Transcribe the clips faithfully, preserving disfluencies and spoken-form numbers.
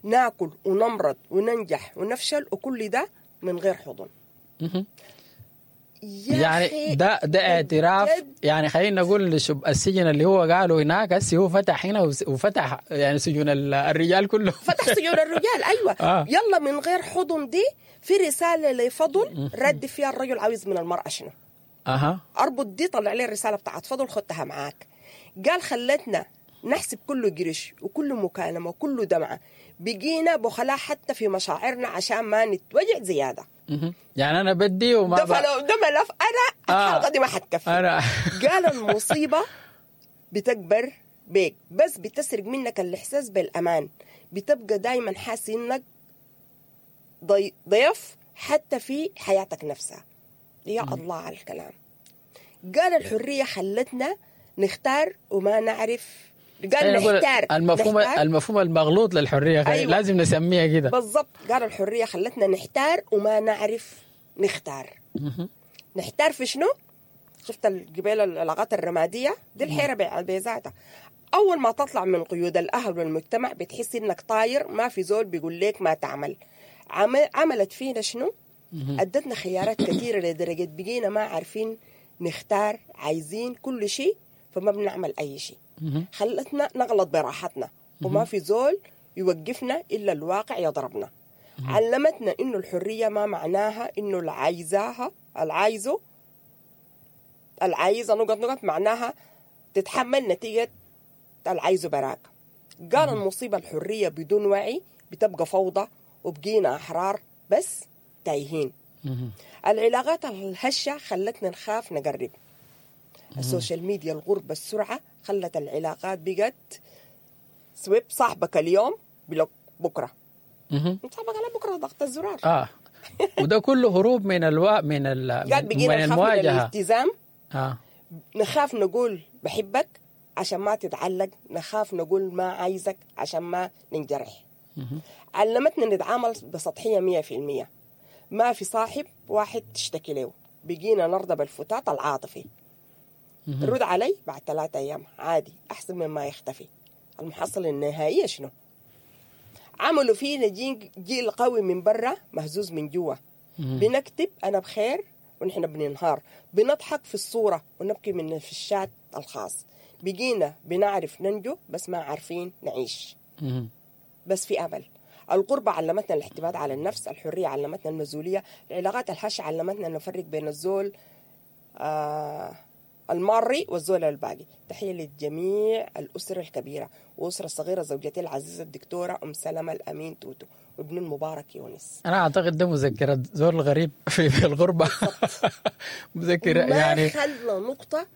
ناكل ونمرض وننجح ونفشل وكل ده من غير حضن. مهم. يا يعني أخي ده ده اعتراف، بجد. يعني خلينا نقول لشب السجن اللي هو قاله هناك هسه هو فتح هنا وس- وفتح يعني سجون ال- الرجال كله. فتح سجون الرجال، ايوه. آه. يلا من غير حضن دي في رسالة لفضل رد فيها الرجل عاوز من المراة شنو. اها اربط دي، طلع لي الرسالة بتاعت فضل، خدتها معاك. قال خلتنا نحسب كل قرش وكل مكالمة وكل دمعه، بقينا بخلاء حتى في مشاعرنا عشان ما نتوجع زيادة. مهم. يعني انا بدي وما ده ب... فلو ده ملف انا آه. الحلقة دي ما حتكفي. انا قال المصيبة بتكبر بيك بس بتسرق منك الاحساس بالامان، بتبقى دايما حاسس انك ضي- ضيف حتى في حياتك نفسها. يا الله على الكلام. قال الحرية خلتنا نختار وما نعرف. قال خلينا نقول نحتار المفهوم نحتار. المفهوم المغلوط للحرية خلي... أيوة. لازم نسميها كده. بالضبط. قال الحرية خلتنا نحتار وما نعرف نختار. مهم. نحتار في شنو؟ شفت الجبال العلاقات الرمادية دي الحيرة بع- بذاتها. أول ما تطلع من قيود الأهل والمجتمع بتحس إنك طاير، ما في زول بيقول لك ما تعمل. عمل عملت فينا شنو؟ أدتنا خيارات كثيرة لدرجة بقينا ما عارفين نختار، عايزين كل شيء فما بنعمل أي شيء. مهم. خلتنا نغلط براحتنا وما في زول يوقفنا إلا الواقع يضربنا. علمتنا إنه الحرية ما معناها إنه اللي عايزاها العايزه العايزة نقط نقط، معناها تتحمل نتيجة العايزه براك. قال المصيبة الحرية بدون وعي بتبقى فوضى، وبقينا أحرار بس تايهين. مهم. العلاقات الهشة خلتنا نخاف نقرب. ال social media، الغربة، السرعة خلت العلاقات بقت swipe، صاحبك اليوم block بكرة، مهم. صاحبك على بكرة ضغط الزرار. اه وده كله هروب من الوا من ال... قال من بقينا نخاف من المواجهة. الالتزام، اه نخاف نقول بحبك عشان ما تتعلق، نخاف نقول ما عايزك عشان ما ننجرح. مهم. علمتنا نتعامل بسطحية مية في المية، ما في صاحب واحد تشتكي له، بقينا نرضى بالفتات العاطفي. مهم. رد علي بعد ثلاثة أيام عادي، أحسن مما يختفي. المحصلة النهائية شنو؟ عملوا فينا جيل, جيل قوي من برا مهزوز من جوا. مهم. بنكتب أنا بخير ونحن بننهار، بنضحك في الصورة ونبكي من في الشات الخاص. بقينا بنعرف ننجو بس ما عارفين نعيش. مهم. بس في أمل. الغربة علمتنا الاعتماد على النفس، الحرية علمتنا المسؤولية، العلاقات الهشة علمتنا نفرق بين الزول آه الماري والزول الباقي. تحية للجميع، الأسرة الكبيرة وأسرة الصغيرة، زوجتي العزيزة الدكتورة أم سلمة الأمين توتو وابن المبارك يونس. انا اعتقد ده مذكرة زول غريب في, في الغربة. مذكرة ما يعني خلى نقطة.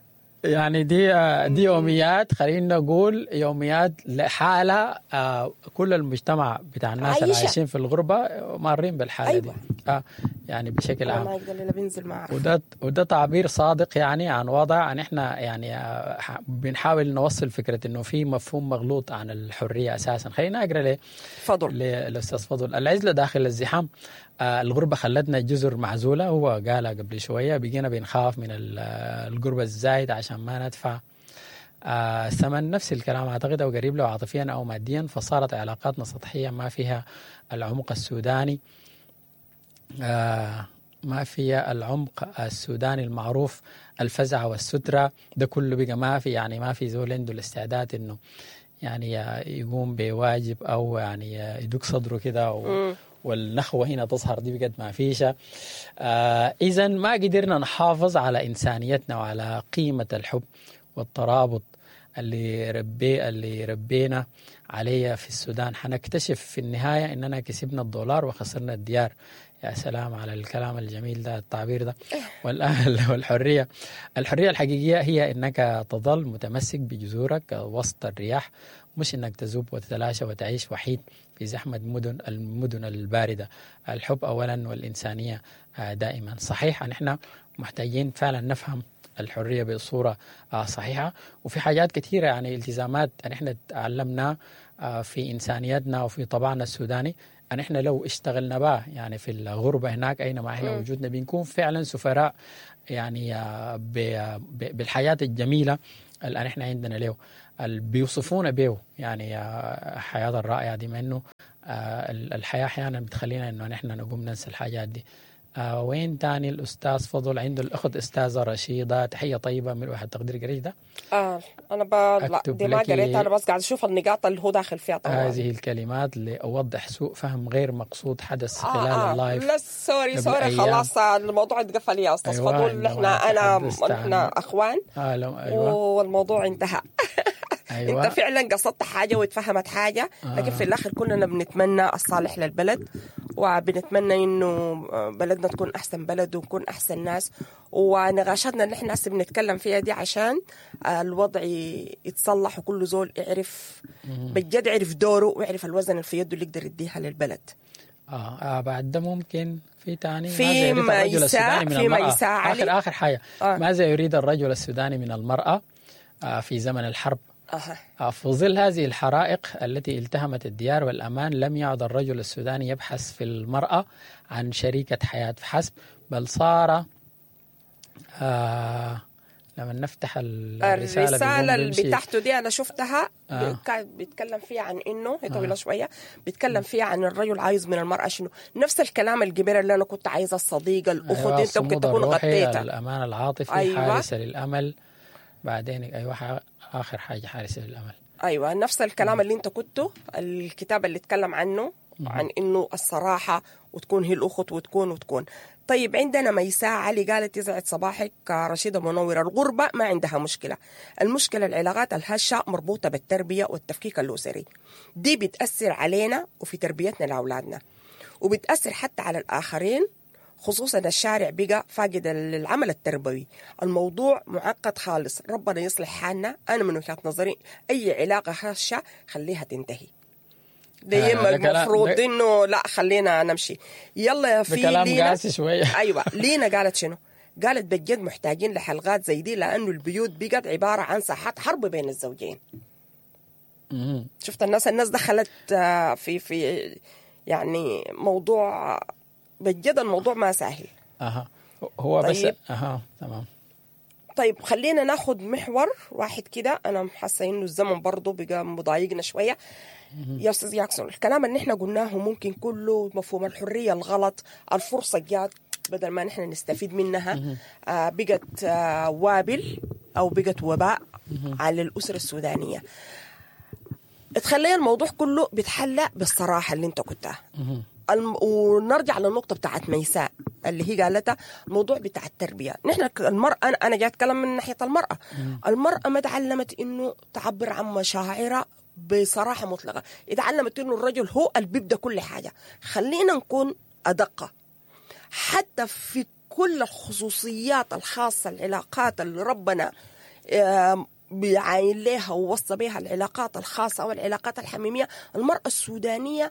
يعني دي دي يوميات، خلينا نقول يوميات لحالة آه، كل المجتمع بتاع الناس اللي عايشة. عايشين في الغربة مارين بالحالة أيوة. دي آه يعني بشكل أنا عام. ما أقدر إلا بنزل ما أعرف. وده وده تعبير صادق يعني عن وضع ان احنا يعني آه، ح- بنحاول نوصل فكرة انه في مفهوم مغلوط عن الحرية اساسا. خلينا اقرا ليه فضل للاستاذ فضل. العزلة داخل الزحام، آه، الغربة خلتنا جزر معزولة، هو قالها قبل شوية، بقينا بنخاف من ال- آه، القربة الزايد عشان ما ندفع آه، ثمن. نفس الكلام اعتقد او قريب له، عاطفيا او ماديا، فصارت علاقاتنا سطحية ما فيها العمق السوداني، آه، ما فيها العمق السوداني المعروف، الفزع والسترة ده كله بقى ما في. يعني ما في زول عنده الاستعداد انه يعني يقوم بواجب او يعني يدق صدره كده و... مم. والنخوة هنا تظهر، دي بقت ما فيش. آه إذا ما قدرنا نحافظ على إنسانيتنا وعلى قيمة الحب والترابط اللي ربي اللي ربينا عليه في السودان، حنكتشف في النهاية إننا كسبنا الدولار وخسرنا الديار. يا سلام على الكلام الجميل ده، التعبير ده. والأهل والحرية، الحرية الحقيقية هي إنك تظل متمسك بجذورك وسط الرياح، مش إنك تذوب وتتلاشى وتعيش وحيد في زحمة مدن المدن الباردة. الحب أولا والإنسانية آه، دائما. صحيح أن إحنا محتاجين فعلا نفهم الحرية بصورة آه، صحيحة، وفي حاجات كثيرة يعني التزامات أن إحنا تعلمنا آه، في إنسانيتنا وفي طبعنا السوداني، أن إحنا لو اشتغلنا بها يعني في الغربة هناك أينما إحنا مم. وجودنا بنكون فعلا سفراء يعني آه، ب- ب- بالحياة الجميلة اللي احنا عندنا له. اللي بيوصفونا به يعني الحياة الرائعة دي، مع انه الحياة احيانا بتخلينا انه نحن نقوم ننسى الحاجات دي. آه وين تاني الأستاذ فضل عنده الأخت أستاذة رشيدة، تحية طيبة من واحد تقدير قريت ده. آه أنا ب... لا دي ما قريتها، أنا بس قاعد أشوف النقاط اللي هو داخل فيها طبعا. هذه الكلمات لأوضح سوء فهم غير مقصود حدث آه خلال آه ال live. لا sorry sorry خلاص الموضوع اتقفل يا أستاذ أيوة فضل، احنا أنا احنا أخوان آه لو أيوة والموضوع انتهى. أيوة. انت فعلا قصدت حاجة واتفهمت حاجة، لكن آه. في الاخر كلنا بنتمنى الصالح للبلد، وبنتمنى انه بلدنا تكون احسن بلد ونكون احسن ناس، ونقاشاتنا اللي احنا هسه بنتكلم فيها دي عشان الوضع يتصلح وكل زول يعرف بجد يعرف دوره ويعرف الوزن اللي في يده اللي يقدر يديها للبلد. آه, اه بعد ده ممكن في تاني في ماذا يريد الرجل السوداني من المرأة؟ اخر اخر حاجة آه. ماذا يريد الرجل السوداني من المرأة آه في زمن الحرب؟ أه. في ظل هذه الحرائق التي التهمت الديار والأمان، لم يعد الرجل السوداني يبحث في المرأة عن شريكة حياة فحسب، بل صار آه لما نفتح الرسالة, الرسالة اللي بتاعته دي أنا شفتها آه. كان بيتكلم فيها عن إنه هي طويلة آه. شوية، بيتكلم فيها عن الرجل عايز من المرأة شنو، نفس الكلام الجبير اللي أنا كنت عايزة، الصديقة، الأخت، أيوة. أنت ممكن تكون غطيتها، الأمان العاطفي، أيوة. حارسة للأمل، بعدين أيوة آخر حاجة حارسة للأمل. أيوة نفس الكلام اللي أنت كنته، الكتاب اللي اتكلم عنه عن إنه الصراحة وتكون هي الأخت وتكون وتكون. طيب عندنا ميساء علي قالت يسعد صباحك رشيدة منورة، الغربة ما عندها مشكلة، المشكلة العلاقات الهشة مربوطة بالتربية والتفكيك الأسري، دي بتأثر علينا وفي تربيتنا لأولادنا، وبتأثر حتى على الآخرين، خصوصا الشارع بقى فاقد العمل التربوي. الموضوع معقد خالص، ربنا يصلح حالنا. أنا من وجهة نظري أي علاقة هشة خليها تنتهي. دايما المفروض إنه لا خلينا نمشي. يلا يا في كلام قاسي شوية. أيوة لينا قالت شنو؟ قالت بجد محتاجين لحلقات زي دي، لأنه البيوت بقت عبارة عن ساحات حرب بين الزوجين. شفت الناس الناس دخلت في في يعني موضوع بجد الموضوع ما سهل. اها هو طيب. بس اها تمام. طيب خلينا ناخد محور واحد كده، انا حاسه انه الزمن برضه بقى مضايقنا شوية. يا استاذ ياكسون، الكلام اللي احنا قلناه ممكن كله مفهوم الحرية الغلط، الفرصة جات بدل ما نحن نستفيد منها آه بقت آه وابل او بقت وباء على الاسرة السودانية. تخلي الموضوع كله بيتحلى بالصراحه اللي انت قلتها. الم... ونرجع للنقطة بتاعت ميساء اللي هي قالتها، الموضوع بتاع التربية. نحن المرأة، أنا أنا جاي أتكلم من ناحية المرأة. المرأة ما تعلمت إنه تعبر عن مشاعرها بصراحة مطلقة، اتعلمت إنه الرجل هو اللي بيبدأ كل حاجة. خلينا نكون أدق حتى في كل الخصوصيات الخاصة، العلاقات اللي ربنا بيعاين لها ووصى بها، العلاقات الخاصة والعلاقات الحميمية. المرأة السودانية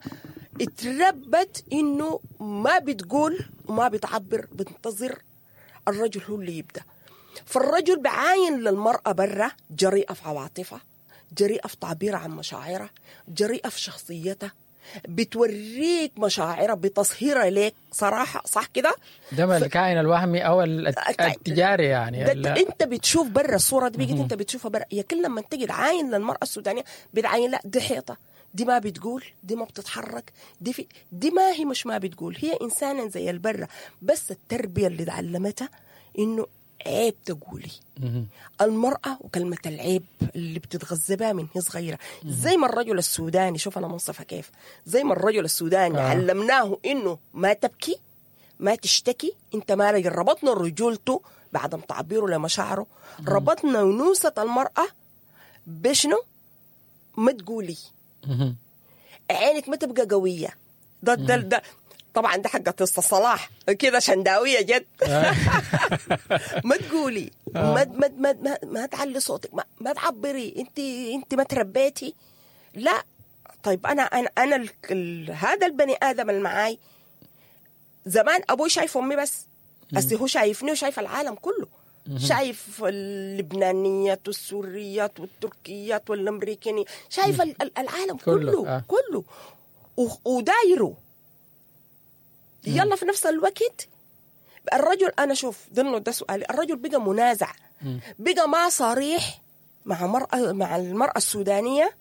اتربت إنه ما بتقول وما بتعبر، بتنتظر الرجل هو اللي يبدأ. فالرجل بعاين للمرأة برا جريئة في عواطفها، جريئة في تعبيرها عن مشاعرها، جريئة في شخصيتها، بتوريك مشاعرها، بتصهيرها ليك صراحة، صح كده؟ ده ف... الكائن الوهمي أو التجاري يعني. ده أنت بتشوف برا الصورة دي، بيجي أنت بتشوفها برا. يا كل لما تجي تعاين للمرأة السودانية بتعاين لا دي حيطة، دي ما بتقول، دي ما بتتحرك، دي في... دي ما هي مش ما بتقول، هي إنسانة زي البرة، بس التربية اللي تعلمتها إنه عيب تقولي. المرأة وكلمة العيب اللي بتتغذى بها من هي صغيرة، زي ما الرجل السوداني، شوف أنا منصفة كيف، زي ما الرجل السوداني آه. علمناه إنه ما تبكي، ما تشتكي، أنت ما رجل. ربطنا رجولته بعدم تعبيره لمشاعره، ربطنا ونوسة المرأة بشنو؟ ما تقولي، عينك ما تبقى قوية. ده ده ده طبعا ده حق قصة صلاح كده شنداوية جد. ما تقولي، ما ما ما ما, ما تعلي صوتك، ما, ما تعبري، انت انت ما تربيتي. لا طيب انا انا انا ال ال هذا البني ادم اللي معاي زمان ابوي شايف امي بس، بس هو شايفني وشايف العالم كله، شايف اللبنانيات والسوريات والتركيات والامريكاني، شايف العالم كله كله, آه. كله ودايره. يلا في نفس الوقت الرجل، أنا شوف ضمن ده سؤالي، الرجل بقى منازع، بقى ما صريح مع مرأة مع المرأة السودانية؟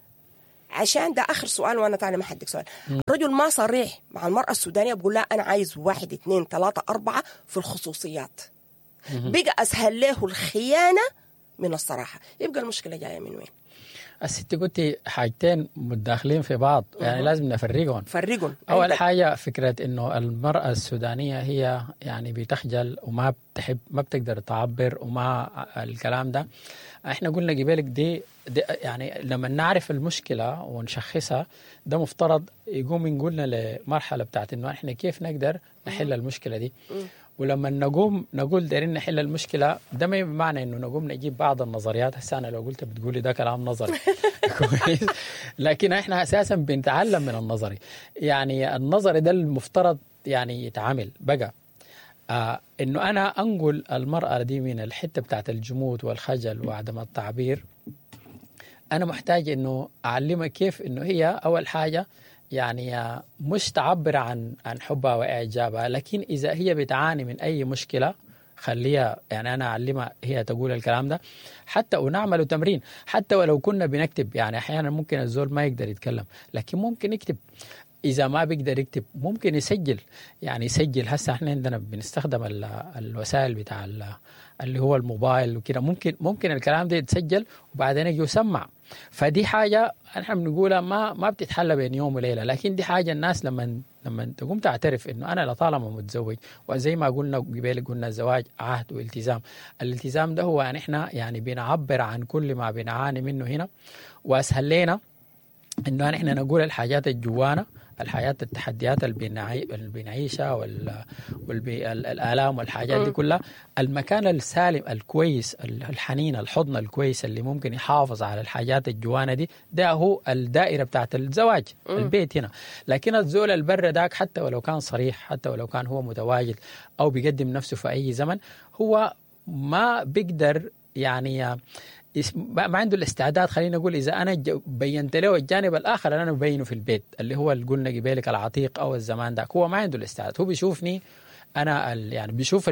عشان ده آخر سؤال وأنا تاني ما حدك سؤال. الرجل ما صريح مع المرأة السودانية، بقول لها أنا عايز واحد اثنين ثلاثة أربعة في الخصوصيات. بقى أسهل له الخيانة من الصراحة. يبقى المشكلة جاية من وين؟ الست قلتي حاجتين متداخلين في بعض، يعني لازم نفرقهم. فرقهم. أول حاجة فكرة إنه المرأة السودانية هي يعني بتخجل وما بتحب، ما بتقدر تعبر وما الكلام ده. إحنا قلنا قبلك دي, دي يعني لما نعرف المشكلة ونشخصها ده مفترض يقوم يقولنا لمرحلة بتاعت إنه إحنا كيف نقدر نحل المشكلة دي. ولما نقوم نقول دايرين نحل المشكلة ده ما بمعنى إنه نقوم نجيب بعض النظريات. هسه أنا لو قلت بتقولي ده كلام نظري كويس، لكن إحنا أساسا بنتعلم من النظري. يعني النظري ده المفترض يعني يتعامل بقى آه إنه أنا أنقل المرأة دي من الحتة بتاعت الجمود والخجل وعدم التعبير. أنا محتاج إنه أعلمها كيف إنه هي أول حاجة يعني مش تعبر عن عن حبها وإعجابها، لكن إذا هي بتعاني من أي مشكلة خليها، يعني أنا أعلمها هي تقول الكلام ده، حتى ونعمل تمرين، حتى ولو كنا بنكتب. يعني أحيانا ممكن الزول ما يقدر يتكلم لكن ممكن يكتب، إذا ما بيقدر يكتب ممكن يسجل. يعني يسجل، هسه احنا عندنا بنستخدم الوسائل بتاع اللي هو الموبايل وكده، ممكن ممكن الكلام ده يتسجل وبعدين يجي يسمع. فدي حاجة احنا بنقولها ما ما بتتحل بين يوم وليلة، لكن دي حاجة الناس لما لما تقوم تعترف انه انا لطالما متزوج، وزي ما قلنا قبل قلنا الزواج عهد والتزام. الالتزام ده هو ان احنا يعني بنعبر عن كل ما بنعاني منه هنا، واسهل لنا انه احنا نقول الحاجات الجوانا، الحياة، التحديات اللي بنعيشها والآلام والحاجات دي كلها. المكان السالم الكويس الحنين الحضن الكويس اللي ممكن يحافظ على الحاجات الجوانة دي، ده هو الدائرة بتاعت الزواج، البيت هنا. لكن الزول البر داك حتى ولو كان صريح، حتى ولو كان هو متواجد أو بيقدم نفسه في أي زمن، هو ما بيقدر يعني ما عنده الاستعداد. خلينا نقول إذا أنا بينت له الجانب الآخر اللي أنا ببينه في البيت اللي هو اللي قلنا قبالك العتيق أو الزمان داك، هو ما عنده الاستعداد. هو بيشوفني أنا يعني بيشوف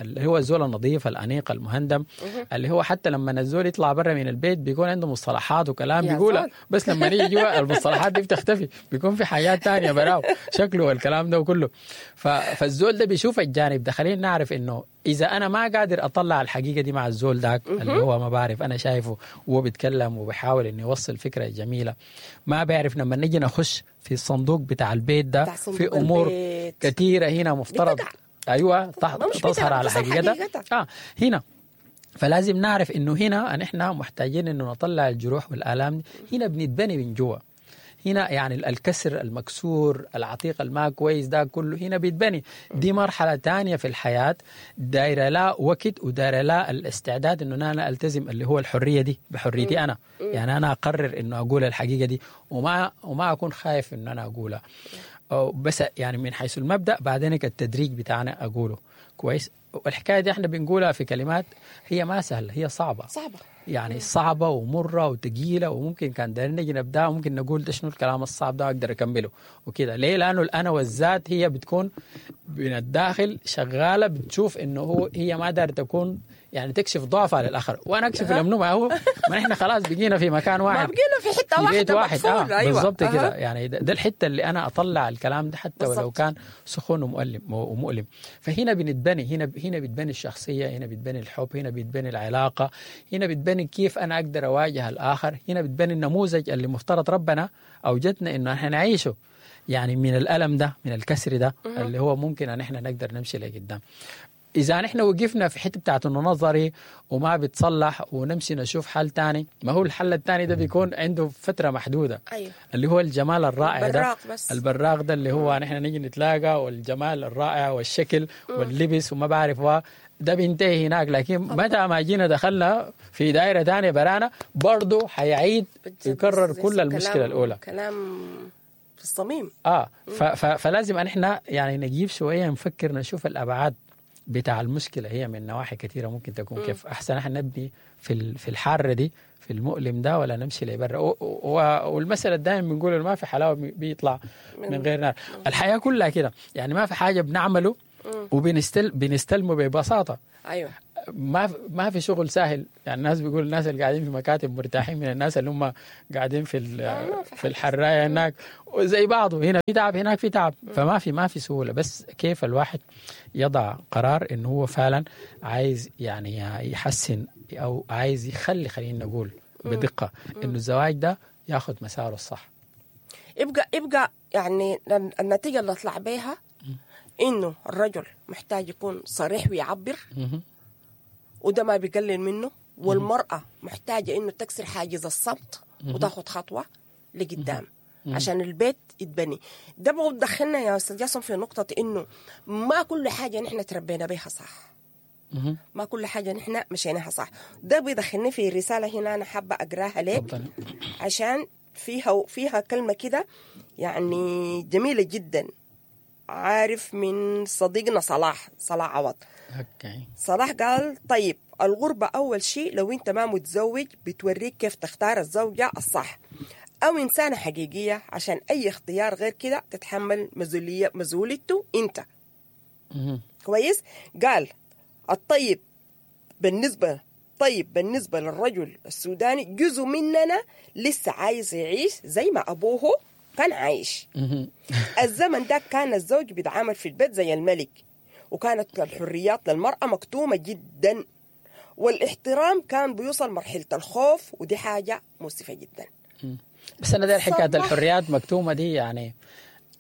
اللي هو الزول النظيف الأنيق المهندم، اللي هو حتى لما الزول يطلع برا من البيت بيكون عنده مصطلحات وكلام بيقولها، بس لما نيجي جوا المصطلحات دي بتختفي، بيكون في حاجات تانية براو شكله والكلام ده وكله. فالزول ده بيشوف الجانب ده. خلينا نعرف إنه إذا أنا ما قادر أطلع الحقيقة دي مع الزول داك اللي هو ما بعرف أنا شايفه وهو بيتكلم وبيحاول إنه يوصل فكرة جميلة، ما بعرف لما نيجي نخش في الصندوق بتاع البيت ده في أمور البيت كثيرة هنا مفترض بتقع. أيوة تظهر على حقيقتها آه هنا. فلازم نعرف إنه هنا نحن محتاجين إنه نطلع الجروح والآلام. هنا بنتبني من جوا، هنا يعني الكسر المكسور العتيق الما كويس ده كله هنا بيتبني. دي مرحلة تانية في الحياة، دايرة لا وقت ودايرة لا الاستعداد إنه أنا ألتزم اللي هو الحرية دي بحريتي أنا. يعني أنا أقرر إنه أقول الحقيقة دي وما وما أكون خايف إنه أنا أقولها، بس يعني من حيث المبدأ بعدين التدريج بتاعنا أقوله كويس. والحكاية دي احنا بنقولها في كلمات هي ما سهلة، هي صعبة صعبة يعني صعبة ومرة وثقيلة، وممكن كان دايرين نجي نبدأ وممكن نقول ده شنو الكلام الصعب ده أقدر أكمله وكده. ليه؟ لأنه الأنا والذات هي بتكون من الداخل شغالة، بتشوف إنه هو هي ما دار تكون يعني تكشف ضعفها للآخر، وأنا أكشف لمنو؟ ما هو ما إحنا خلاص بقينا في مكان واحد، ما بقينا في حتة في واحدة، بيت واحد. آه أيوة. بالضبط أه. كده. يعني ده, ده الحتة اللي أنا أطلع الكلام ده حتى بالزبط. ولو كان سخون ومؤلم ومؤلم. فهنا بنتبني، هنا هنا بتبني الشخصية، هنا بتبني الحب، هنا بتبني العلاقة، هنا بتبني كيف أنا أقدر أواجه الآخر، هنا بتبني النموذج اللي مفترض ربنا أوجدنا إنه إحنا نعيشه، يعني من الألم ده، من الكسر ده اللي هو ممكن أن إحنا نقدر نمشي لقدام. إذا نحن وقفنا في حتة بتاعت إنه نظري وما بتصلح ونمشي نشوف حل تاني، ما هو الحل التاني ده بيكون عنده فترة محدودة. أيوه. اللي هو الجمال الرائع ده، بس. البراق ده اللي هو نحن نيجي نتلاقى، والجمال الرائع والشكل واللبس وما بعرف ده بينتهي هناك. لكن متى ما جينا دخلنا في دائرة تانية برانا برضو حيعيد يكرر كل المشكلة الأولى. كلام في الصميم. آه فلازم أن احنا يعني نجيب شوية نفكر نشوف الأبعاد بتاع المشكلة، هي من نواحي كثيرة ممكن تكون. م. كيف أحسن احنا نبني في في الحارة دي في المؤلم ده ولا نمشي لبرا. والمسألة دائما بنقول ما في حلاوة بيطلع من غير نار. الحياة كلها كده، يعني ما في حاجة بنعمله وبنستل بنستلمه ببساطة. أيوة. ما ما في شغل سهل. يعني الناس بيقول الناس اللي قاعدين في مكاتب مرتاحين من الناس اللي هم قاعدين في في الحرايه هناك وزي بعضه، هنا في تعب هناك في تعب، فما في ما في سهولة. بس كيف الواحد يضع قرار انه هو فعلا عايز يعني يحسن او عايز يخلي، خلينا نقول بدقة انه الزواج ده ياخذ مساره الصح. يبقى يبقى يعني النتيجة اللي اطلع بيها انه الرجل محتاج يكون صريح ويعبر، وده ما بيقلل منه، والمرأة محتاجة إنه تكسر حاجز الصمت وتاخد خطوة لقدام عشان البيت يتبني. ده بدخلنا يا أستاذ جاسم في نقطة إنه ما كل حاجة نحن تربينا بيها صح، ما كل حاجة نحن مشيناها صح. ده بيدخلني في رسالة هنا أنا حابة أقراها لك عشان فيها فيها كلمة كده يعني جميلة جدا، عارف من صديقنا صلاح صلاح عوض. okay. صلاح قال طيب الغربة أول شيء لو أنت ما متزوج بتوريك كيف تختار الزوجة الصح أو إنسانة حقيقية، عشان أي اختيار غير كده تتحمل مسؤولية مسؤوليته أنت. مم. كويس. قال الطيب بالنسبة طيب بالنسبة للرجل السوداني جزء مننا لسه عايز يعيش زي ما أبوه كان عايش. الزمن ده كان الزوج بيتعامل في البيت زي الملك، وكانت الحريات للمرأة مكتومة جدا، والاحترام كان بيوصل مرحلة الخوف، ودي حاجة مؤسفة جدا. بس أنا داير حكاية الحريات مكتومة دي، يعني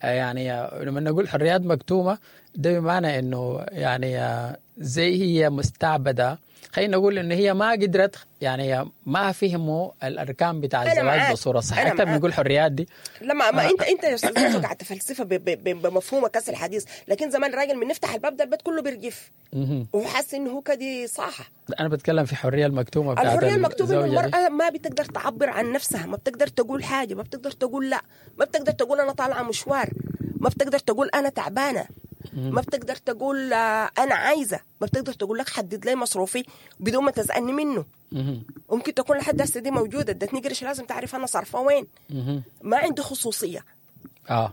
يعني لما نقول حريات مكتومة ده بمعنى إنه يعني زي هي مستعبدة، خلينا نقول إن هي ما قدرت يعني ما فهموا الأركان بتاع الزواج بصورة صحيحة. أكثر بنقول حريات دي لما ما أنت أنت يا أستاذ قاعد تفلسفة بمفهومك كاس الحديث، لكن زمان الراجل من نفتح الباب ده البيت كله بيرجف وحاسس إنه هو كدي صح. أنا بتكلم في حرية المكتومة بتاعت الحرية المكتومة، إنه المرأة ما بتقدر تعبر عن نفسها، ما بتقدر تقول حاجة، ما بتقدر تقول لا، ما بتقدر تقول أنا طالعة مشوار، ما بتقدر تقول أنا تعبانة، ما بتقدر تقول أنا عايزة، ما بتقدر تقول لك حدد لي مصروفي بدون ما تسألني منه. ممكن تكون لحد هسه دي موجودة، ادتني قرش لازم تعرف أنا صارفة وين. ما عنده خصوصية. آه.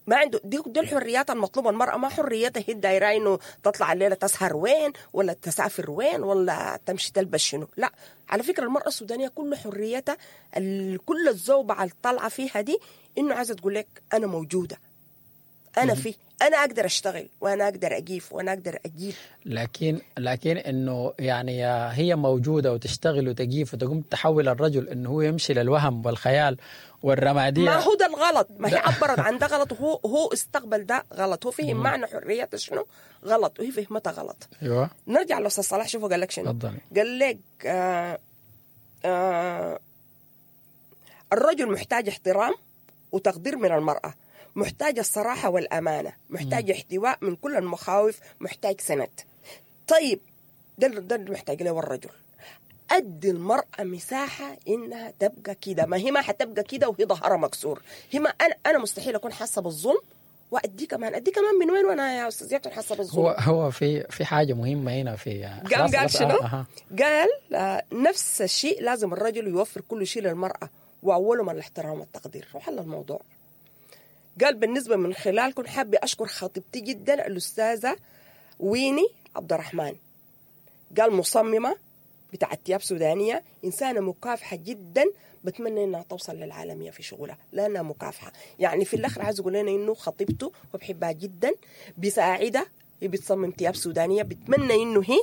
ما عنده دي, دي الحريات المطلوبة. المرأة ما حريتها هي الدايرة إنه تطلع الليلة تسهر وين ولا تسافر وين ولا تمشي تلبس شنو. لا، على فكرة المرأة السودانية كل حريتها كل الزوبعة اللي طالعة فيها دي إنه عايزة تقول لك أنا موجودة، أنا في، أنا أقدر أشتغل وأنا أقدر أجيف وأنا أقدر أجيب. لكن لكن إنه يعني هي موجودة وتشتغل وتجيف وتقوم تحول الرجل إنه هو يمشي للوهم والخيال والرمادية. ما هو ده الغلط، ما هي عبرت عن ده غلط، وهو هو استقبل ده غلط، هو فهم معنى حرية شنو غلط وهي فهمتها غلط. أيوة. نرجع لأستاذ صلاح، شوفوا قال لك شنو. تفضل. قال لك آه آه الرجل محتاج احترام وتقدير من المرأة، محتاج الصراحة والأمانة، محتاج احتواء من كل المخاوف، محتاج سند. طيب ده ده محتاج له الرجل. أدي المرأة مساحة إنها تبقى كده، ما هي ما حتبقى كده وهي ظهرها مكسور. هي ما أنا أنا مستحيل أكون حاسة بالظلم وأدي كمان أدي كمان من وين وأنا يا أستاذ ياسر حاسة بالظلم. هو هو في في حاجة مهمة هنا في قام قال شنو؟ آه. قال آه نفس الشيء لازم الرجل يوفر كل شيء للمرأة وأولهم الاحترام والتقدير، وحل الموضوع. قال بالنسبة من خلالكم حابة أشكر خطيبتي جدا الأستاذة ويني عبد الرحمن. قال مصممة بتاعت ثياب سودانية، إنسانة مكافحة جدا، بتمنى إنها توصل للعالمية في شغلها لأنها مكافحة. يعني في الآخر عايز يقول لنا إنه خطيبته وبحبها جدا، بيساعدها، بتصمم ثياب سودانية، بتمنى إنه هي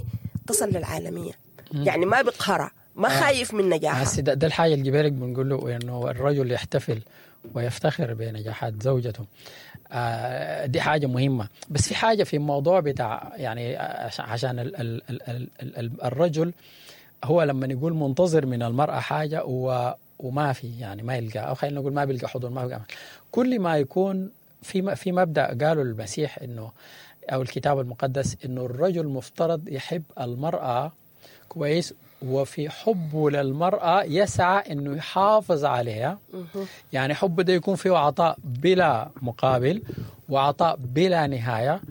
تصل للعالمية. يعني ما بقهرها، ما خايف من نجاحها. ده, ده الحاجة اللي جبالك بنقول له إنه الرجل يحتفل ويفتخر بنجاحات زوجته. آه دي حاجة مهمة. بس في حاجة في الموضوع بتاع يعني عشان ال ال ال ال ال الرجل هو لما يقول منتظر من المرأة حاجة وما في يعني ما يلقى، أو خلينا نقول ما بيلقى حضور، ما بيلقى. كل ما يكون في في مبدأ قالوا المسيح إنه أو الكتاب المقدس إنه الرجل مفترض يحب المرأة كويس، وفي حبه للمرأة يسعى إنه يحافظ عليها. يعني حبه ده يكون فيه عطاء بلا مقابل، وعطاء بلا نهاية،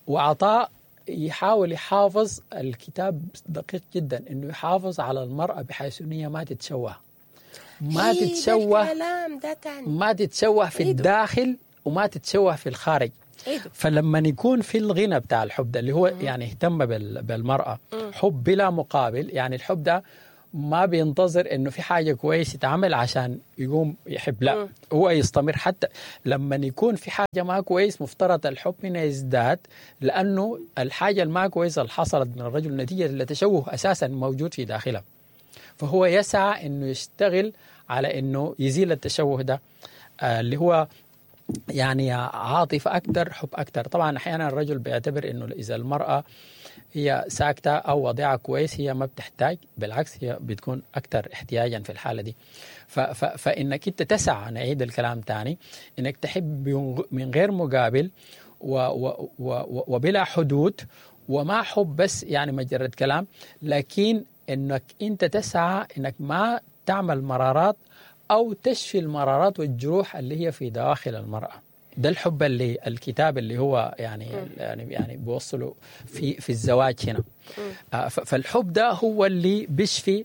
وعطاء يحاول يحافظ. الكتاب دقيق جدا إنه يحافظ على المرأة بحيث إن هي ما تتشوه، ما تتشوه، ما تتشوه في الداخل وما تتشوه في الخارج. عيدوا. فلما يكون في الغنى بتاع الحب ده اللي هو يعني اهتم بالمرأة، حب بلا مقابل، يعني الحب ده ما بينتظر انه في حاجة كويس يتعمل عشان يقوم يحب، لا م. هو يستمر حتى لما يكون في حاجة ما كويس. مفترض الحب هنا يزداد، لانه الحاجة الما كويسة اللي حصلت من الرجل نتيجة لتشوه اساسا موجود في داخله، فهو يسعى انه يشتغل على انه يزيل التشوه ده، آه اللي هو يعني عاطفة اكثر، حب اكثر. طبعا احيانا الرجل بيعتبر انه اذا المراة هي ساكتة أو وضعها كويس هي ما بتحتاج، بالعكس هي بتكون أكثر احتياجا في الحالة دي. ف ف فإنك أنت تسعى، نعيد الكلام تاني، إنك تحب من غير مقابل و و و وبلا حدود، وما حب بس يعني مجرد كلام، لكن إنك أنت تسعى إنك ما تعمل مرارات أو تشفي المرارات والجروح اللي هي في دواخل المرأة. ده الحب اللي الكتاب اللي هو يعني يعني يعني بيوصله في في الزواج هنا. فالحب ده هو اللي بيشفي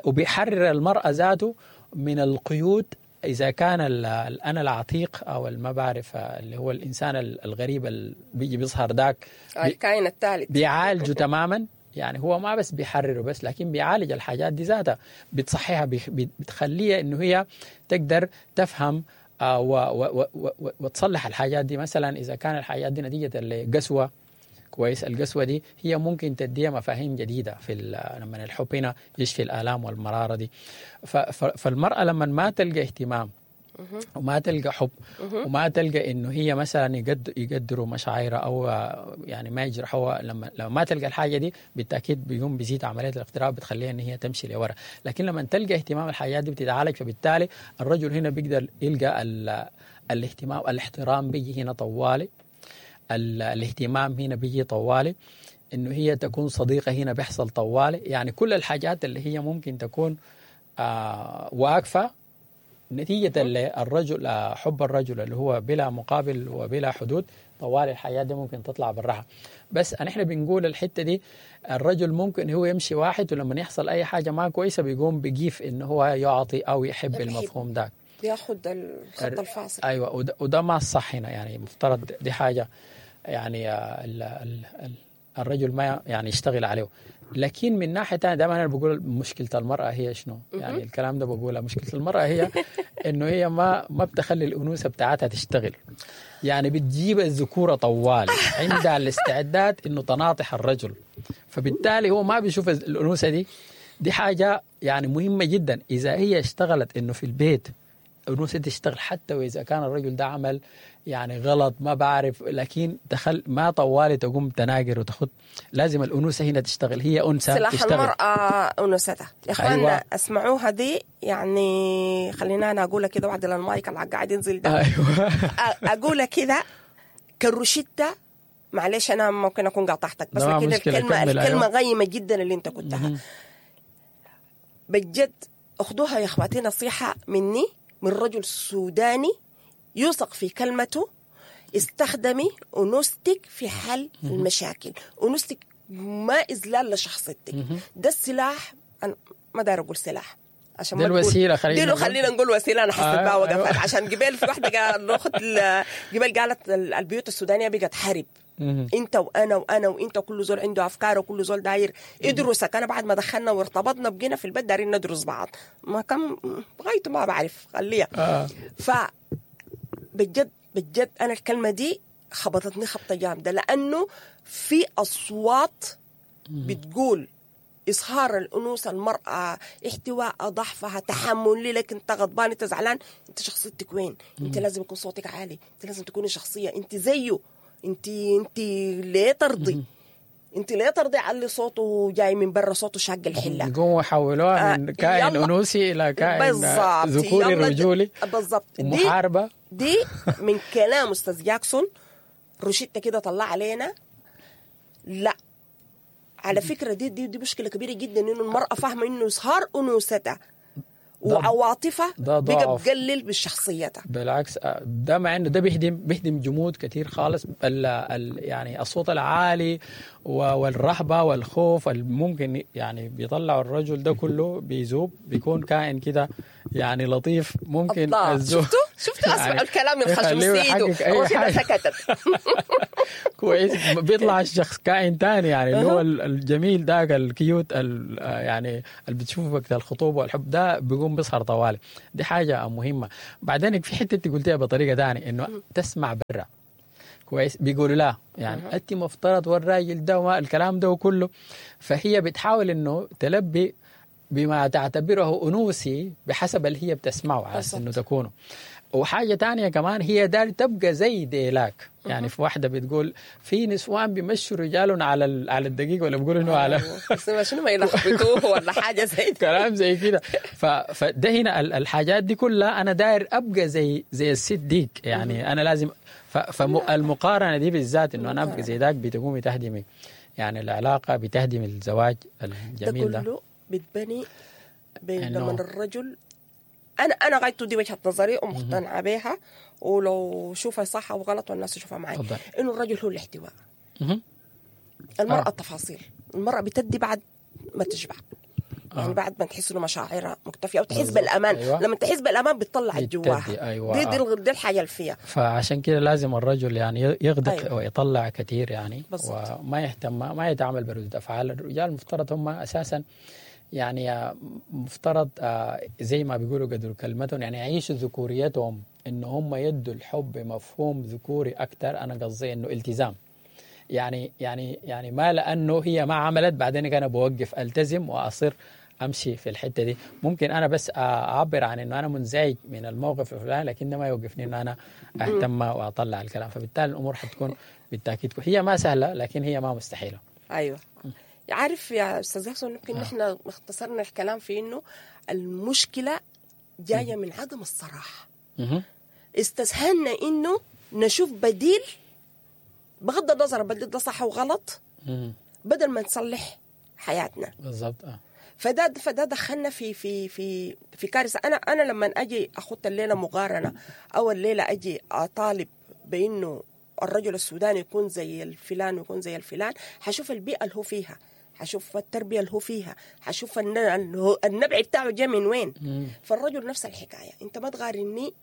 وبيحرر المرأة ذاته من القيود، إذا كان الأنا العتيق أو ما بعرف اللي هو الإنسان الغريب اللي بيجي بيظهر داك، الكائن الثالث، بيعالجه تماما. يعني هو ما بس بيحرره بس، لكن بيعالج الحاجات دي ذاتها، بتصحيها، بتخليها إنه هي تقدر تفهم و و و وتصلح الحاجات دي. مثلا إذا كان الحاجات دي نتيجة لقسوة، كويس، القسوة دي هي ممكن تديها مفاهيم جديدة في لما الحب هنا يشفي الآلام والمرارة دي. فالمرأة لما ما تلقى اهتمام وما تلقى حب وما تلقى إنه هي مثلا يقد يقدروا مشاعرها أو يعني ما يجرحوها، لما لما ما تلقى الحاجة دي بالتأكيد بيقوم بيزيد عملية الاغتراب، بتخليها إن هي تمشي لورا. لكن لما تلقى اهتمام الحاجات دي بتتعالج، فبالتالي الرجل هنا بيقدر يلقى الاهتمام، الاحترام بيجي هنا طوالي، الاهتمام هنا بيجي طوالي، إنه هي تكون صديقة هنا بيحصل طوالي. يعني كل الحاجات اللي هي ممكن تكون آه واقفة نتيجة للرجل، حب الرجل اللي هو بلا مقابل وبلا حدود، طوال الحياة دي ممكن تطلع بالراحة. بس نحن بنقول الحتة دي الرجل ممكن هو يمشي واحد، ولما يحصل أي حاجة ما كويسة بيقوم بيجيف إنه هو يعطي أو يحب المفهوم ده، بياخد الخط الفاصل. أيوة، وده, وده ما الصح هنا. يعني مفترض دي حاجة يعني ال ال ال الرجل ما يعني يشتغل عليه. لكن من ناحية ثانية دائما انا بقول مشكلة المراة هي شنو؟ يعني الكلام ده بقوله، مشكلة المراة هي انه هي ما ما بتخلي الانوثة بتاعتها تشتغل. يعني بتجيب الذكورة طوال، عندها الاستعداد انه تناطح الرجل، فبالتالي هو ما بيشوف الانوثة دي. دي حاجة يعني مهمة جدا. اذا هي اشتغلت انه في البيت الانوثة تشتغل، حتى واذا كان الرجل ده عمل يعني غلط ما بعرف، لكن دخل ما طوالي تقوم تناقر وتخد، لازم الأنوثة هنا تشتغل. هي أنثى سلاح تشتغل. المرأة أنوثتها يا إخواننا. أيوة. اسمعوها دي، يعني خلينا أنا أقولها كده بعد المايك اللي قاعد ينزل ده. أيوة. أقولها كده كالروشتة. معلش أنا ممكن أكون قاطعتك، بس لكن الكلمة الكلمة غيمة جدا اللي أنت قلتها بجد. أخذوها يا إخواتي نصيحة مني، من رجل سوداني يوثق في كلمته. استخدمي أنوثتك في حل المشاكل. أنوثتك ما إذلال لشخصيتك. ده السلاح، أنا ما داير أقول سلاح عشان دي الوسيلة، خلينا نقول خلينا نقول وسيلة. أنا حسيت آه بقى وقفت. أيوة. عشان قبل في واحدة قال أخت قبل قالت البيوت السودانية بقت حرب، انت وانا وانا وانت، كل زول عنده افكار وكل زول داير يدرسك. انا بعد ما دخلنا وارتبطنا بقينا في البيت دايرين ندرس بعض، ما كم غايته ما بعرف خليها. آه. ف بجد بجد انا الكلمة دي خبطتني خبطه جامدة، لانه في اصوات بتقول إظهار الأنوثة، المرأة، احتواء ضعفها، تحمل لك، أنت غضبان، أنت زعلان، أنت شخصيتك وين؟ أنت لازم يكون صوتك عالي، أنت لازم تكوني شخصية، أنت زيه، أنت أنت ليه ترضي؟ أنت ليه ترضي على اللي صوته جاي من برا، صوته شاق الحلة؟ يقوموا يحولوها من كائن أنوثي إلى كائن ذكوري رجولي. بالضبط. ومحاربة. دي من كلام أستاذ جاكسون روشيتا كده طلع علينا. لا على فكرة دي دي دي مشكلة كبيرة جدا، إنه المرأة فاهمة إنه إظهار أنوثتها وعواطفها بقى بتقلل بشخصيتها. بالعكس ده مع إنه ده بيهدم بيهدم جمود كتير خالص. ال ال يعني الصوت العالي والرهبة والخوف الممكن يعني بيطلعوا الرجل ده كله بيذوب، بيكون كائن كده يعني لطيف ممكن. الله، شفتوا شفتوا يعني اسمعوا الكلام من خشم يخليه سيدو يحقق أي هو كده حاجة. سكتت. كويس، بيطلع الشخص كائن تاني، يعني اللي هو ال- الجميل ذاك ال cute ال- آه يعني اللي بتشوفه وقت الخطوبة والحب ده بيقوم بيظهر طوالي. دي حاجة مهمة. بعدين في حتة انت قلتيها بطريقة ثانية، انه تسمع برا كويس بيقولوا لا يعني انت مفترض والراجل ده وما الكلام ده وكله، فهي بتحاول انه تلبي بما تعتبره انوثي بحسب اللي هي بتسمعه على أساس انه تكونه. وحاجه تانية كمان هي دار تبقى زي ديلاك، يعني في واحدة بتقول في نسوان بيمشوا رجالهم على ال- على الدقيق ولا بيقولوا انه على بس ما شنو ما يلخبطوه ولا حاجة زي دي. كلام زي كده. ف... فده هنا ال- الحاجات دي كلها انا داير ابقى زي زي الست ديك، يعني انا لازم ف... فالمقارنه دي بالذات انه انا ابقى زي ذاك بتقومي تهدمي يعني العلاقة، بتهدم الزواج ده الجميل ده. كله بتبني بين إنه- لما الرجل، انا انا غايته دي وجهه نظري ومقتنعه بها، ولو شوفها صح او غلط والناس تشوفها معي، تفضل. انه الرجل هو الاحتواء، مهم. المرأة آه. التفاصيل. المرأة بتدي بعد ما تشبع، يعني آه. بعد ما تحس انه مشاعرها مكتفية او تحس بالضبط. بالامان. أيوة. لما تحس بالامان بتطلع بتدي، جواها. أيوة. دي دي, آه. دي الحاجة اللي فيها. فعشان كده لازم الرجل يعني يغدق أيوة. ويطلع كثير يعني، بالضبط. وما يهتم ما يتعامل بردود افعال. الرجال المفترض هم اساسا يعني مفترض آه، زي ما بيقولوا قدر كلمتهم، يعني يعيشوا ذكوريتهم، انه هم يدوا الحب بمفهوم ذكوري اكثر. انا قصدي انه التزام، يعني يعني يعني ما لانه هي ما عملت بعدين انا بوقف التزم واصر امشي في الحتة دي. ممكن انا بس اعبر عن انه انا منزعج من الموقف الفلاني، لكن ده ما يوقفني انه انا اهتم واطلع الكلام. فبالتالي الامور حتكون بالتاكيد هي ما سهلة، لكن هي ما مستحيلة. ايوه. عارف يا استاذ يحسن، يمكن نحن اختصرنا الكلام في انه المشكلة جاية من عدم الصراحة. مهم. استسهلنا انه نشوف بديل، بغض النظر البديل ده صح وغلط، مم. بدل ما نصلح حياتنا. بالضبط. اه فده فده دخلنا في في في في كارثة. انا انا لما اجي اخط الليلة مقارنة، او الليلة اجي اطالب بانه الرجل السوداني يكون زي الفلان ويكون زي الفلان، حشوف البيئة اللي هو فيها، حشوف التربية اللي هو فيها، حشوف الن- النبع بتاعه جاي من وين. مم. فالرجل نفس الحكاية، انت ما تغارني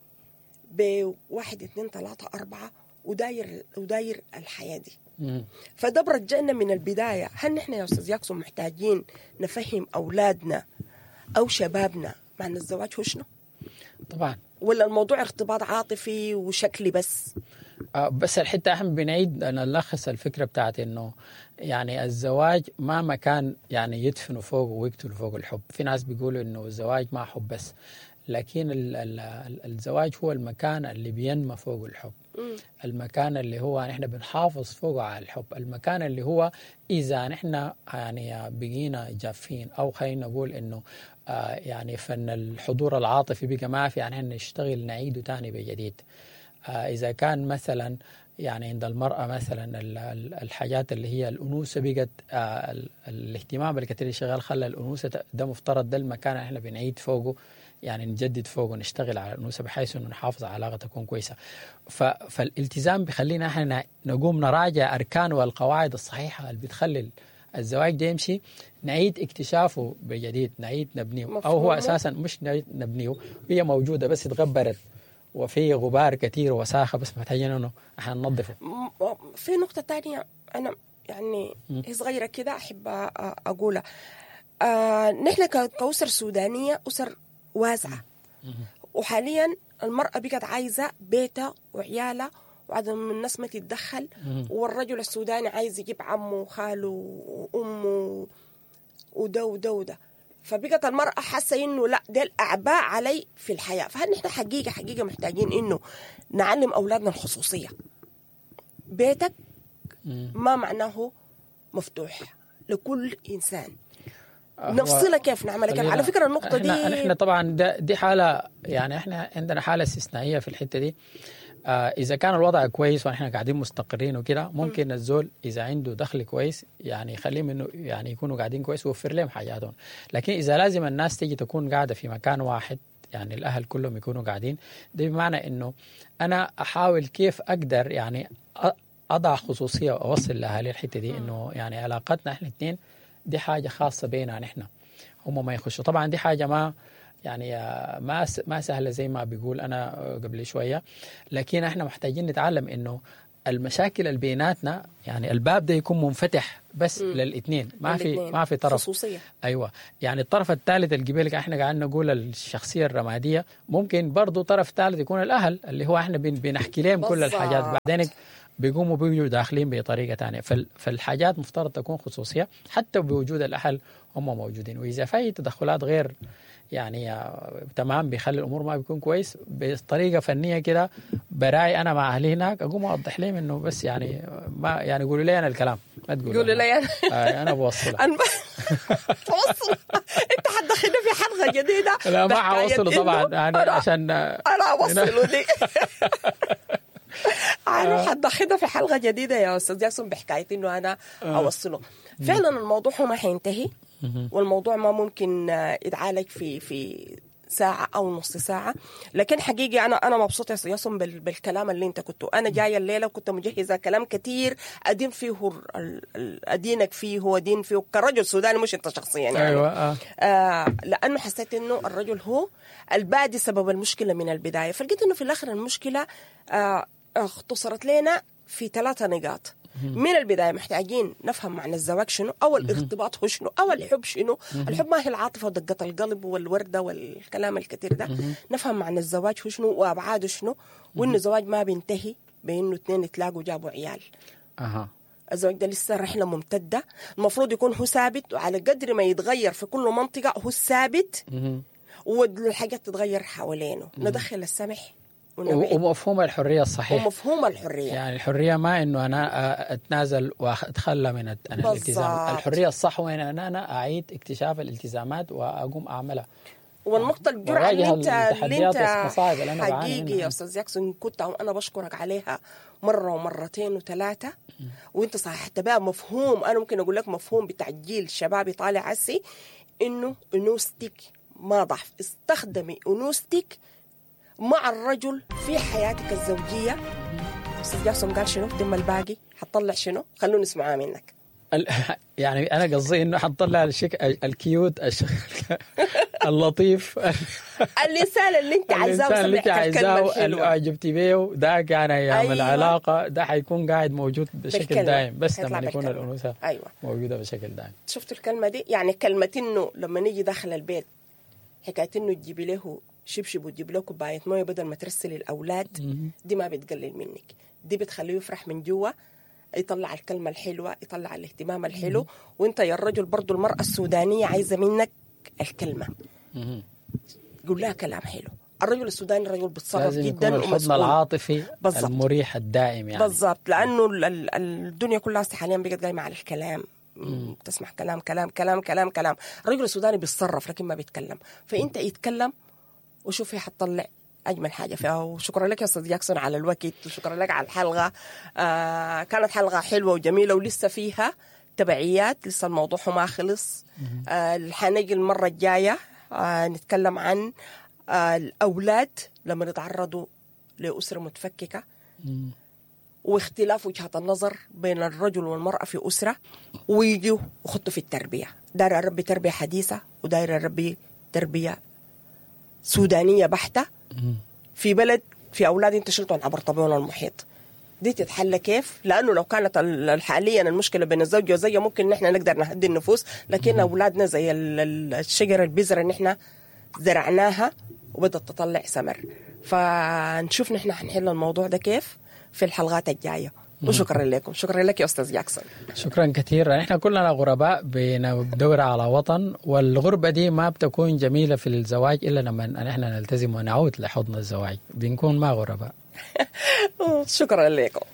بواحد اتنين ثلاثة اربعة وداير وداير الحياة دي. مم. فده برجعنا من البداية، هل نحن يا أستاذ ياكسون محتاجين نفهم أولادنا أو شبابنا معنى الزواج هو شنو؟ طبعا. ولا الموضوع ارتباط عاطفي وشكلي بس؟ آه، بس الحتة احنا بنعيد نلخص الفكرة بتاعت انه يعني الزواج ما مكان يعني يدفنوا فوق ويقتلوا فوق الحب. في ناس بيقولوا انه الزواج ما حب بس، لكن ال ال الزواج هو المكان اللي بينمى فوق الحب، المكان اللي هو نحن بنحافظ فوقه على الحب، المكان اللي هو إذا نحن يعني بقينا جافين، أو خلينا نقول إنه آه يعني فن الحضور العاطفي بقى ما في، يعني نحن نشتغل نعيده تاني بجديد. آه إذا كان مثلا يعني عند المرأة مثلا ال- ال- الحاجات اللي هي الأنوثة بقت آه ال- الاهتمام الكثير اللي شغال خلى الأنوثة ت- ده مفترض ده المكان اللي احنا بنعيد فوقه، يعني نجدد فوقه، نشتغل على الأنوثة بحيث إنه نحافظ على علاقة تكون كويسة. ف- فالالتزام بيخلينا احنا نقوم نراجع أركان والقواعد الصحيحة اللي بتخلي الزواج ده يمشي، نعيد اكتشافه بجديد، نعيد نبنيه، أو هو مفهومه. أساسا مش نعيد نبنيه، هي موجودة بس اتغبرت وفي غبار كثير وساخة، بس محتاجين انه احنا ننظفه. م- في نقطة تانية أنا يعني هي صغيرة كده أحب أ- أقولها. آه نحن ك- كأسر سودانية أسر واسعة، وحاليا المرأة بقت عايزة بيتها وعيالها وعدم الناس ما تتدخل، والرجل السوداني عايز يجيب عمه وخاله وأمه وده وده وده. فبقت المرأة حاسة إنه لا ده الأعباء علي في الحياة. فهل نحن حقيقة حقيقة محتاجين إنه نعلم أولادنا الخصوصية؟ بيتك ما معناه مفتوح لكل إنسان. هو نفصلها كيف نعملها كيف؟ على خلينا- فكرة النقطة دي احنا احنا طبعا ده دي حاله، يعني احنا عندنا حاله استثنائية في الحتة دي. آه اذا كان الوضع كويس ونحن قاعدين مستقرين وكده، ممكن الزول اذا عنده دخل كويس يعني يخليهم انه يعني يكونوا قاعدين كويس ويوفر لهم حاجاتهم. لكن اذا لازم الناس تيجي تكون قاعدة في مكان واحد، يعني الاهل كلهم يكونوا قاعدين، ده بمعنى انه انا احاول كيف اقدر يعني أ- اضع خصوصية واوصل لاهالي الحتة دي، انه يعني علاقتنا احنا الاثنين دي حاجة خاصة بيننا نحن، هم ما يخشوا. طبعا دي حاجة ما يعني ما ما سهلة زي ما بيقول انا قبل شوية، لكن احنا محتاجين نتعلم انه المشاكل اللي بيناتنا يعني الباب ده يكون منفتح بس مم. للاثنين، ما في ما في طرف خصوصية. ايوه يعني الطرف الثالث اللي قبلك احنا قاعدين نقول الشخصية الرمادية، ممكن برضه طرف ثالث يكون الاهل اللي هو احنا بنحكي لهم كل الحاجات، بعدين بيقوموا بيجوا داخلين بطريقة ثانية. فالحاجات مفترض تكون خصوصية حتى بوجود الاهل هم موجودين، واذا في تدخلات غير يعني تمام بيخلي الامور ما بيكون كويس بطريقة فنية كده. براي انا مع اهلي هناك اقوم اوضح لهم انه بس يعني ما يعني قولوا لي انا الكلام، ما تقولوا قولوا لي انا آه انا بوصلها. انا توصل انت حتدخلنا في حلقة جديدة. لا ما حوصله طبعا يعني عشان انا اوصله دي انا حتدخلنا في حلقة جديدة يا استاذ جاسم بحكاية انه انا اوصله. فعلا الموضوع هو ما حينتهي، والموضوع ما ممكن يتعالج في في ساعة أو نص ساعة، لكن حقيقي أنا أنا مبسوطة يا ياسم بالكلام اللي أنت كنت. أنا جاية الليلة وكنت مجهزة كلام كتير أدين فيه أدينك فيه وأدين فيه كرجل سوداني، مش أنت شخصيا يعني. أيوة آه. آه لأنه حسيت إنه الرجل هو البادي سبب المشكلة من البداية، فلقيت إنه في الآخر المشكلة آه اختصرت لنا في ثلاثة نقاط. من البداية محتاجين نفهم معنى الزواج شنو، أو الارتباط هو شنو، أو الحب شنو. الحب ما هي العاطفة ودقة القلب والوردة والكلام الكثير ده. نفهم معنى الزواج هو شنو وأبعاده شنو، وإنه الزواج ما بينتهي بإنه اثنين يتلاقوا جابوا عيال. أها. الزواج ده لسه رحلة ممتدة، المفروض يكون هو ثابت، وعلى قدر ما يتغير في كل منطقة هو الثابت، والحاجات تتغير حوالينه. ندخل السمح ومفهوم الحرية الصحيح، ومفهوم الحرية يعني الحرية ما إنه أنا أتنازل وأتخلى من الالتزام. الحرية الصح وين أنا أنا أعيد اكتشاف الالتزامات وأقوم أعملها. والنقطة الجرعة اللي أنت اللي أنت حقيقي يا أستاذ جاكسون كنت وأنا بشكرك عليها مرة ومرتين وثلاثة، وأنت صححت بقى مفهوم، أنا ممكن أقول لك مفهوم بتاع جيل شبابي طالع عسي، إنه أنوثتك ما ضعف، استخدمي أنوثتك مع الرجل في حياتك الزوجية. أستاذ جاسم قال شنو؟ تم الباقي حتطلع شنو؟ خلونا نسمعها منك. يعني أنا قصدي إنه حتطلع الشك ال cute الشك اللطيف الإنسان اللي أنت عايزاه، الإنسان اللي أنت عايزاه اللي أعجبتي بيه ده يعني أيام أيوة. العلاقة ده حيكون قاعد موجود بشكل بالكلمة. دائم، بس لما يكون الأنوثة أيوة. موجودة بشكل دائم. شفتوا الكلمة دي؟ يعني كلمة إنه لما نيجي داخل البيت حكاية إنه تجيبي له شبشب وتجيب له كوباية مويه بدل ما ترسل الأولاد، دي ما بتقلل منك، دي بتخليه يفرح من جوا، يطلع الكلمة الحلوة، يطلع الاهتمام الحلو. وانت يا الرجل برضو المرأة السودانية عايزة منك الكلمة، قول لها كلام حلو. الرجل السوداني الرجل بيتصرف جدا، الحضن العاطفي بالزبط. المريح الدائم يعني بالضبط، لأنه الدنيا كلها حاليا بقت قايمة على الكلام. مم. تسمع كلام كلام كلام كلام كلام. الرجل السوداني بيتصرف لكن ما بيتكلم، فانت يتكلم وشوف هي حتطلع أجمل حاجة فيها. وشكرا لك يا أستاذ جاكسون على الوقت، وشكرا لك على الحلقة. آه كانت حلقة حلوة وجميلة ولسه فيها تبعيات، لسه الموضوع ما خلص. آه حنيجي المرة الجاية آه نتكلم عن آه الأولاد لما يتعرضوا لأسرة متفككة، واختلاف وجهة النظر بين الرجل والمرأة في أسرة، ويجوا وخطوا في التربية. داير أربي تربية حديثة وداير أربي تربية سودانية بحتة في بلد في أولاد انت شلتهم عبر طبيعهم المحيط. دي تتحل كيف؟ لأنه لو كانت حاليا المشكلة بين الزوج والزوجة ممكن نحن نقدر نهدي النفوس، لكن أولادنا زي الشجرة البذرة اللي نحن زرعناها وبدأت تطلع ثمر. فنشوف نحن حنحل الموضوع ده كيف في الحلقات الجاية. وشكرا لكم، شكرا لك يا أستاذ جاكسون. شكرا كثير. نحن كلنا غرباء بندور على وطن، والغربة دي ما بتكون جميلة في الزواج إلا لما نحن نلتزم ونعود لحضن الزواج، بنكون ما غرباء. شكرا لكم.